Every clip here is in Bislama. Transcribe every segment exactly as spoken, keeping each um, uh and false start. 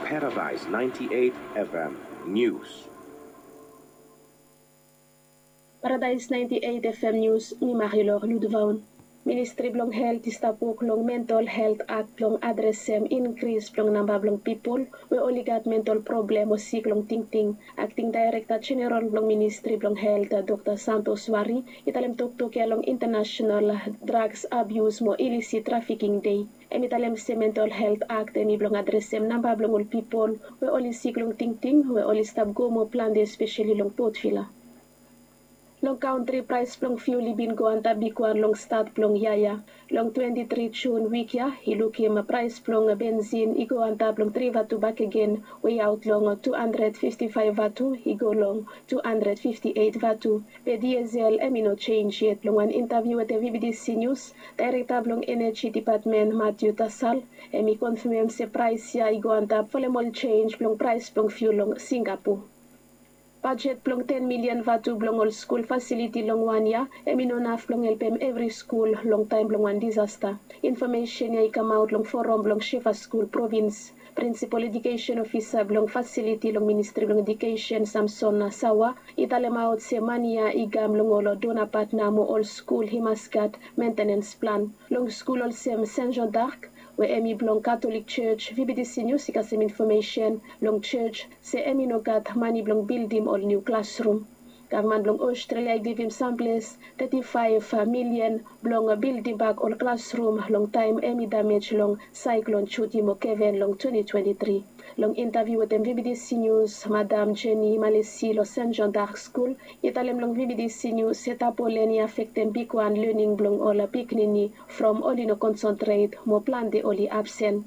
Paradise ninety-eight F M News. Paradise ninety-eight F M News, mi Marilor Ludvaun. Ministri blong Helt i stap wok long Mental Helt Akt blong adresem inkris blong namba blong pipol we oli gat mental problem o sik long tingting. Akting Daerekta Jeneral blong Ministri blong Helt, Dokta Santos Wari, i talem toktok ya long International Drugs Abuse mo Illicit Trafficking Day. Hem i talem se Mental Helt Akt hem i blong adresem namba blong ol pipol we oli sik long tingting we oli stap go mo plante, espeseli long Port Vila. Long kantri, praes blong fiul i bin go antap bigwan long stat blong yia ya. Long twenti tri Jun wik ya i lukim praes blong bensin i go antap long tri vatu bakegen, weaot long tu handred fifti faef vatu i go long tu handred fifti eit vatu. Be diesel hem i no jenj yet. Long wan intaviu wetem V B T C News, daerekta blong Eneji Depatmen Matthew Tasal hem i konfamem se praes ya i go antap folem ol jenj blong praes blong fiul long Singapore. Bajet blong ten milian vatu blong ol skul fasiliti long wan yia hem i no naf blong helpem evri skul long taem blong wan disasta. Infomesen ya i kamaot long foram blong Shefa Skul provins. Prinsipol Edukesen Ofisa blong fasiliti long Ministri blong Edukesen, Samson Nasawa, i talemaot se mane ya i kam long ol dona patna mo ol skul i mas gat mentenens plan. Long skul olsem Saint Jean d'Arc we hem i blong Katolik Jos, V B T C News i kasem infomesen long jos se hem i no gat mane blong bildim ol niu klasrum. Gavman blong Ostrelia i givim samples teti faef milian blong bildim bak ol klasrum long taem hem i damej long saeklon Judi mo Kevin long twenti twenti tri. Long intaviu wetem V B T C News, Madam Jenny Malesi long Saint Jean d'Arc Skul i talem long V B T C News se tapolen i afektem bigwan lening blong ol pikinini from oli no konsentret mo plante oli absen.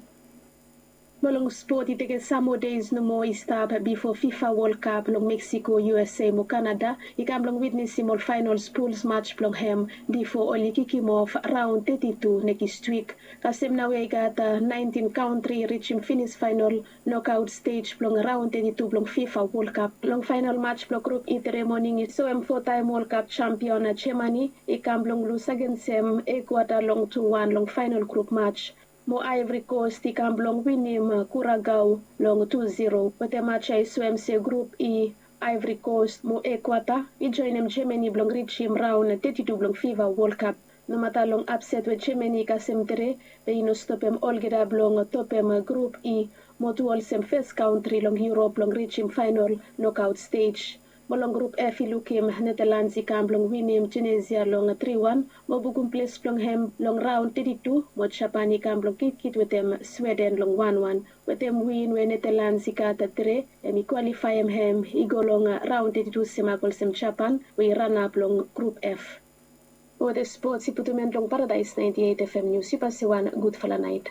Mo long spot, i tekem sam moa deis nomo i stap bifo FIFA World Cup long Mexico, U S A mo Canada i kam blong witnesim ol faenol puls maj blong hem bifo oli kikimof raon teti tu nekis wik. Kasem naoia i gat naentin kantri i rijim finis faenol nokaot stej blong raon teti tu blong FIFA World Cup. Long faenol maj blong grup E tre moning i soem fotaem World Cup jampion Jamani i kam blong lus agensem Ekuata long tu wan long faenol grup maj. Mo Ivory Coast i kam blong winim Kuragao long tu ziro. Wetem maj ya i soem se grup E, Ivory Coast mo Ekuata i joenem Jamani blong rijim raon teti tu blong FIFA World Cup. Nomata long apset we Jamani i kasem tre, be i no stopem olgeta blong topem grup E mo tu olsem fes kantri long Yurop blong rijim faenol nokaot stej. Mo long grup F i lukim Netelands i kam blong winim Tunesia long tri wan mo bukum ples blong hem long raon teti tu, mo Japan i kam blong kitkit wetem Sweden long wan wan. Wetem win we Netelands i gat tre, hem i kwalifaem hem i go long raon teti tu semak olsem Japan we i ranap long grup F. Mo wetem spots i putum en long Paradise naenti eit F M News. Yu pase wan gudfala naet.